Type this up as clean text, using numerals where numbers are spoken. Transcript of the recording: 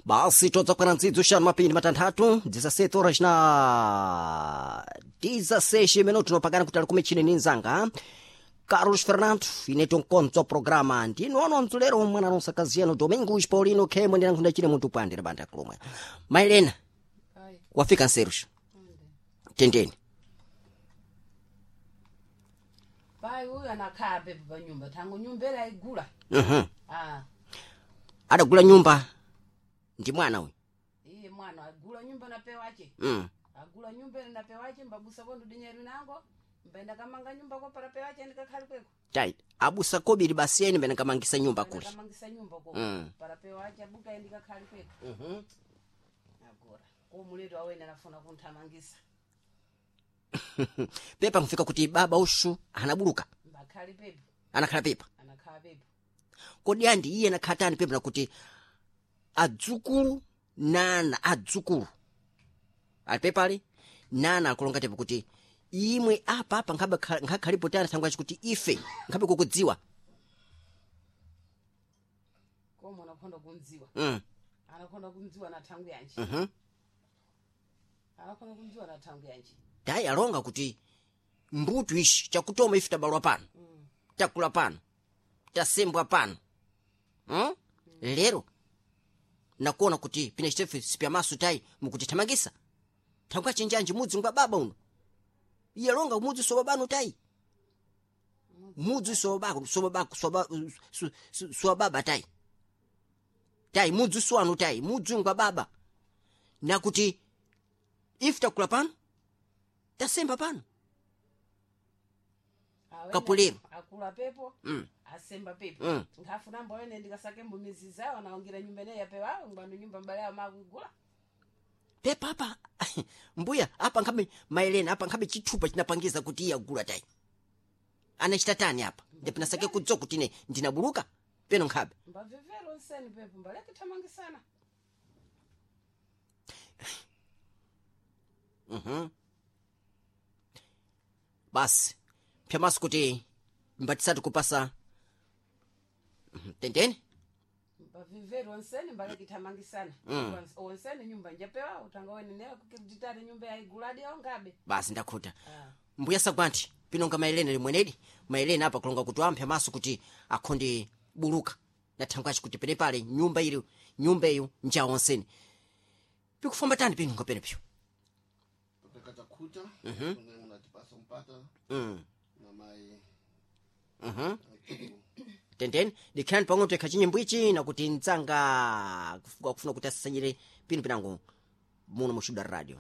Basi todzakwana ntsidzo xanu mapindi matanthatu 17 horas na 16 minuto nopakana kuti ali kumechini ni nzanga Carlos Fernando ineto nkonzo programa ndinu ano mtsulero mwana nonsakaziyano Domingos Paulino khemwe ndinankhunda chine munthu pandira banda kulomwe Mailena wafika nserusha tendeni Pai uyu anakhala pepo pa nyumba thango nyumba ela aigula. Ah, Adagula nyumba ndi mwana uyu. Iye mwana agula nyumba na pewache. Agula nyumba ela na pewache mbabusa kondo dinyeru nango mbaenda kamanga nyumba ko para pewache ndikakhali kweko. Tai abusa kobiri basi eni mbene kamangisa nyumba kuli. Kamangisa nyumba ko para pewache abuka ndikakhali kweko. Agora ko muleto awene anafuna kunthamangisa. Pepa nkufika kuti baba ushu anabuluka. Mbakhali pepo. Anakhala pepa. Anakhala pepo. Kodi andi iye anakhatani pepa nakuti adzukulu nana adzukulu ali pepale nana akulonga tepo kuti imwe apa apa nkhabe nkhalipo tani thangwe kuti ife nkhabe kukudziwa. Komo anakhonda kundziwa. Anakhonda kundziwa na thangu yanje. Anakhonda kundziwa na thangu yanje. Tayi alonga kuti mbutu ishi chakutoma ife tabalwa pano. Takula pano. Tasembwa pano. Lero nakuona kuti pina chitefe sipyamaso tayi mukutithamangisa. Thangwe achenjanji mudzi ngwa baba uno. Iye alonga mudzi soba bano tayi. Mudzi soba soba soba soba baba tayi. Tayi mudzi swanu tayi mudzi ngwa baba. Nakuti ife takula pano tasemba pano. Kapulero. Akula pepo. Asemba pepo. Nkhafuna mbawene ndikasake mbumizi zawo naongira nyumba ineyi yapewawo ngwanu nyumba mbale yawo makuigula. Pepa apa mbuya apa nkhabe maelena apa nkhabe chithupa chinapangiza kuti iye agula tayi. Anachita tani apa ndipinasake kudzo kuti ine ndinabuluka peno nkhabe. Mbavevero nseni pepo mbale kithamangisana. Basi pyamaso kuti mbatisati kupasa tendeni. Mbavivero nseni mbale kithamangisana. Onseni nyumba njapewawo utanga wene newe kukititati nyumba yaiguladi yawo ngabe. Basi ndakhuta. Mbuya sagwanthi pinonga maelena limwenedi maelena apa kulonga kuti amphe maso kuti akhonde buluka na thangwe achi kuti penepale nyumba ili nyumba iyo njawo onseni pikufamba tani pinonga penepyo. Topeka chakhuta mm unatipasa mpata na mai. Tendeni dikhani pang'ono tekha chinyimbo ichi nakuti mdzanga kufuna kuti asasanyire pino pinango muno mu Xuda Radio.